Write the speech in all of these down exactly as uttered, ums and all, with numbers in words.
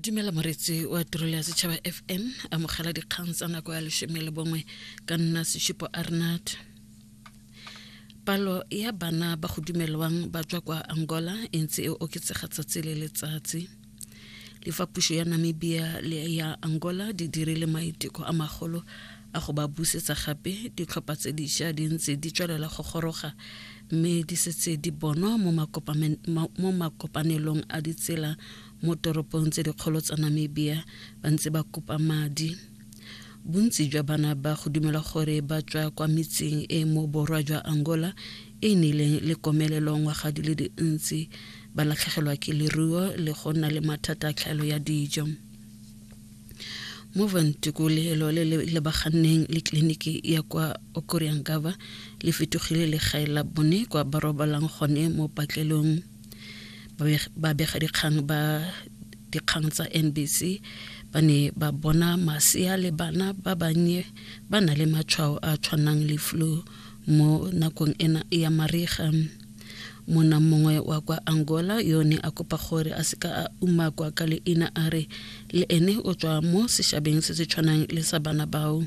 Dumela moretsi wa tirelo ya Setšhaba F M, amogela dikgang tsa nako ya leshome le bongwe ka nna Seshupo Arnard. Palo ya bana ba go dumelwang ba tswa kwa Angola e ntse e oketsega tsatsi le letsatsi. Le fa puso ya Namibia le ya Angola di dirile maiteko a magolo a go ba busetsa gape, ditlhopha tse dišwa di ntse di tswelela go goroga mme di setse di bonwa mo mo makopanelong a ditsela mo toropong tse dikgolo tsa Namibia ba ntse ba kopa madi. Bontsi jwa bana ba go dumelwa gore ba tswa kwa metseng e mo borwa jwa Angola e e nnileng le komelelo ngwaga di le dintsi, ba latlhegelwa ke leruo le go nna le mathata a tlhaelo ya dijo. Mo Ventukulelo le le lebaganneng le tleliniki ya kwa Okuryangava le fetogile legae la bone kwa ba robalang gone mo patlelong. Babegadikgang ba dikgang tsa N B C ba ne ba bona masea le bana ba bannye ba na le matshwao a tshwanang le flu mo nakong ena ya mariga. Monna mongwe wa kwa Angola yo ne a kopa gore a seka a umakwa ka leina a re le ene o tswa mo sešabeng se se tshwanang le sa bana bao,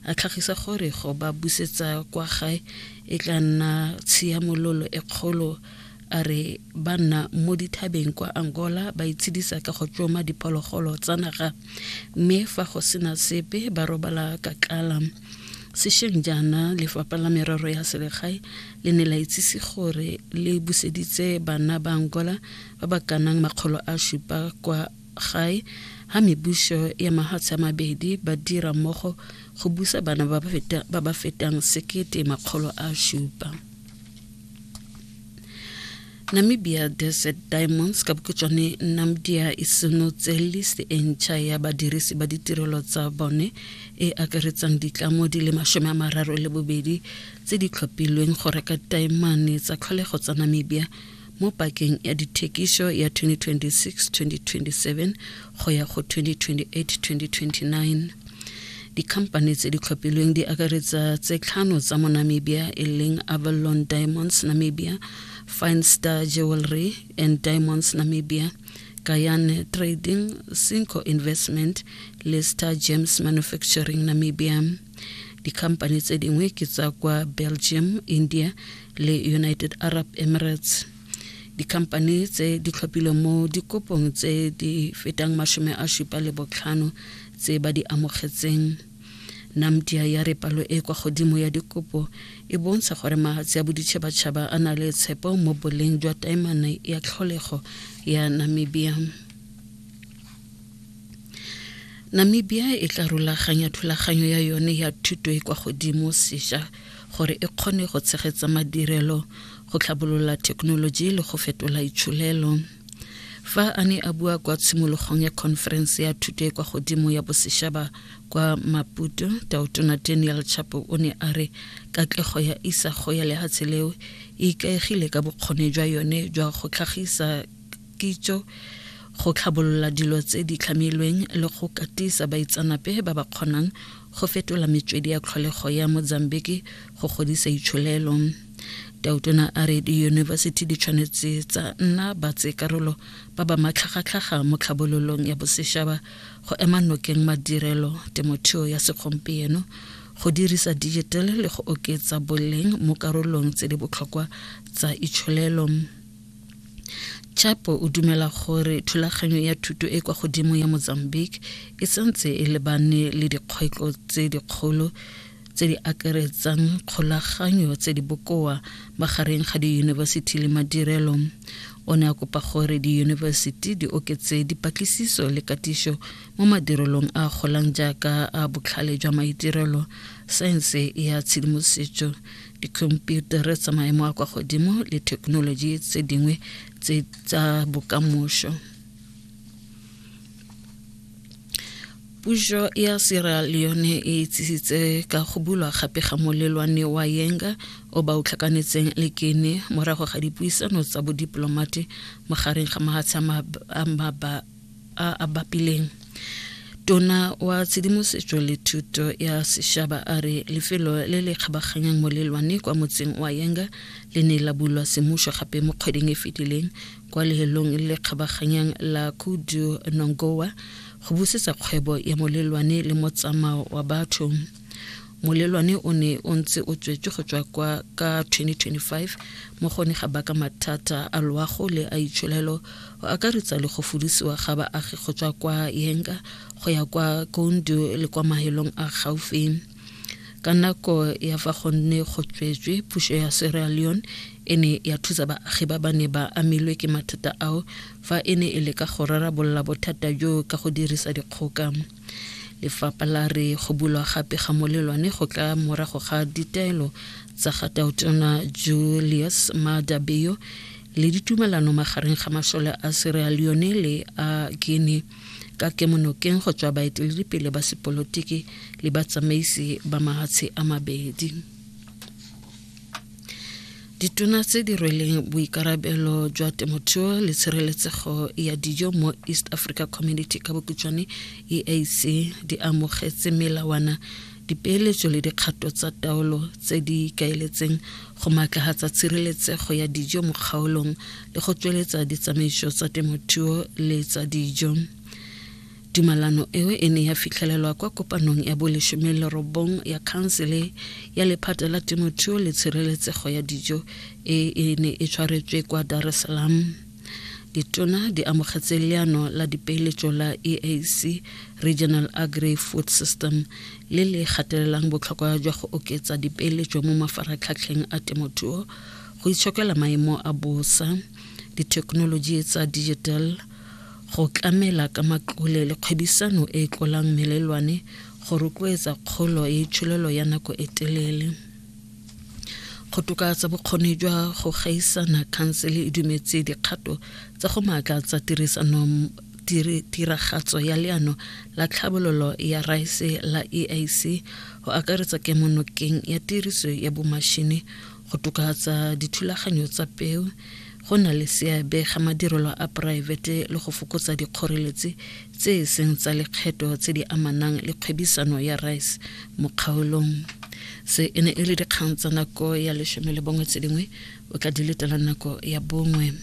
a tlhagisa gore go ba busetsa kwa gae e tla nna tshiamololo e kgolo. A re ba nna mo dithabeng kwa Angola ba itshedisa ka go tsoma diphologolo tsa naga, mme fa go sena sepe ba robala ka tlala. Sešweng jaana lefapha la merero ya selegae le ne la itsise gore le buseditse bana ba Angola ba ba kanang makgolo a supa kwa gae ha mebuso ya mahatshe a mabedi ba dira mmogo go busa bana ba ba fetang sekete makgolo a supa. Namibia Desert Diamonds ka bokhutshwane Namdia e senotse list e ntšha ya badirisi ba ditirelo tsa bone e akaretsang ditlamo di le mashome a mararo le bobedi tse di tlhophilweng go reka taemane tsa tlholego tsa Namibia mo pakeng ya dithekiso ya twenty twenty-six twenty twenty-seven go ya go twenty twenty-eight twenty twenty-nine. Dikhamphane tse di tlhophilweng di akaretsa tse tlhano tsa mo Namibia e leng Avalon Diamonds Namibia, Fine Star Jewelry and Diamonds Namibia, Guyana Trading, Cinco Investment le Star Gems Manufacturing Namibia. Dikhamphane tse dingwe ke tsa kwa Belgium, India le United Arab Emirates. Dikhamphane tse di tlhophilwe mo dikopong tse di fetang mashome a supa le botlhano tse ba di amogetseng. Namdia ya re palo e kwa godimo ya dikopo e bontsha gore mahatshe a boditšhabatšhaba a na le tshepo mo boleng jwa taemane ya tlholego ya Namibia. Namibia e tla rulaganya thulaganyo ya yone ya thuto e kwa godimo sešwa gore e kgone go tshegetsa madirelo, go tlhabolola thekenoloji le go fetola itsholelo. Fa a ne a bua kwa tshimologong ya conference ya thuto e kwa godimo ya bosešaba kwa Maputo, Tautona Daniel Chapo o ne a re katlego ya isago ya lehatshe leo e ikaegile ka bokgoni jwa yone jwa go tlhagisa kitso, go tlhabolola dilo tse di tlhamilweng le go katisa baitsanape ba ba kgonang go fetola metswedi ya tlholego ya Mozambique go godisa itsholelo. Tautona a re diyunibesithi di tshwanetse tsa nna batsekarolo ba ba matlhagatlhaga mo tlhabololong ya bosešaba go ema nokeng madirelo, temothuo ya segompieno, go dirisa digital le go oketsa boleng mo karolong tse di botlhokwa tsa itsholelo. Chapo o dumela gore thulaganyo ya thuto e kwa godimo ya Mozambique e santse e lebane le dikgwetlho tse dikgolo tse di akaretsang kgolaganyo tse di bokoa magareng ga diyunibesithi le madirelo. O ne a kopa gore diyunibesithi di oketse dipatlisiso le katiso mo madirelong a golang jaaka a botlhale jwa maitirelo, saense ya tshedimosetso, dikhomputara tsa maemo a kwa godimo le thekenoloji tse dingwe tse tsa bokamoso. Puso ya Sierra Leone e itsisitse ka go bulwa gape ga molelwane wa Yenga o ba o tlhakanetseng le Guinea morago ga dipuisano tsa bodiplomate magareng ga mahatshe a a bapileng. Tona wa tshedimosetso le thuto ya sešaba a re lefelo le le kgabaganyang molelwane kwa motseng wa Yenga le ne la bulwa semmušo gape mo kgweding e fetileng kwa lehelong le le kgabaganyang la Kudu Nongowa go busetsa kgwebo ya molelwane le motsamao wa batho. Molelwane o ne o ntse o tswetswe go tswa kwa ka twenty twenty-five mo go ne ga baka mathata a loago le a itsholelo go akaretsa le go fudisiwa ga baagi go tswa kwa Yenga go ya kwa Koundu le kwa mahelong a gaufi. Ka nako ya fa go ne go tswetswe, puso ya Sierra Leone e ne ya thusa baagi ba ba ne ba amilwe ke mathata ao fa e ne e leka go rarabolola bothata jo ka go dirisa dikgoka. Lefapha la re go bulwa gape ga molelwane go tla morago ga ditaelo tsa ga Tautona Julius Maada Bio le ditumelano magareng ga masole a Sierra Leone le a Guinea ka kemonokeng go tswa baeteledipele ba sepolotiki le batsamaisi ba mahatshe a mabedi. Ditona tse di rweleng boikarabelo jwa temothuo le tshireletsego ya dijo mo East Africa Community ka bokhutshwane E A C di amogetse melawana, dipeeletso le dikgato tsa taolo tse di ikaeletseng go maatlafatsa tshireletsego ya dijo mo kgaolong le go tsweletsa ditsamaiso tsa temothuo le tsa dijo. Tumalano eo e ne ya fitlhelelwa kwa kopanong ya bolesome le robong ya khansele ya lephata la temothuo le tshireletsego ya dijo e e ne e tshwaretswe kwa Dar es Salaam. Ditona di amogetse leano la dipeeletso la E A C Regional Agri-Food System le le gatelelang botlhokwa jwa go oketsa dipeeletso mo mafaratlhatlheng a temothuo, go itshokela maemo a bosa, dithekenoloji tsa digital, go tlamela ka matlole le kgwebisano e e tlolang melelwane go rotloetsa kgolo ya itsholelo ya nako e telele. Go tokafatsa bokgoni jwa go gaisana, khansele e dumetse dikgato tsa go maatlatsa tirisano tiragatso ya leano la tlhabololo ya raese la E A C go akaretsa kemonokeng ya tiriso ya bomašene go tokafatsa dithulaganyo tsa peo, go na le seabe ga madirelo a poraefete le go fokotsa dikgoreletsi tse e seng tsa lekgetho tse di amanang le kgwebisano ya rice mo kgaolong. Se e ne e le dikgang tsa nako ya lesome le bongwe tse dingwe o tla di letela nako ya bongwe.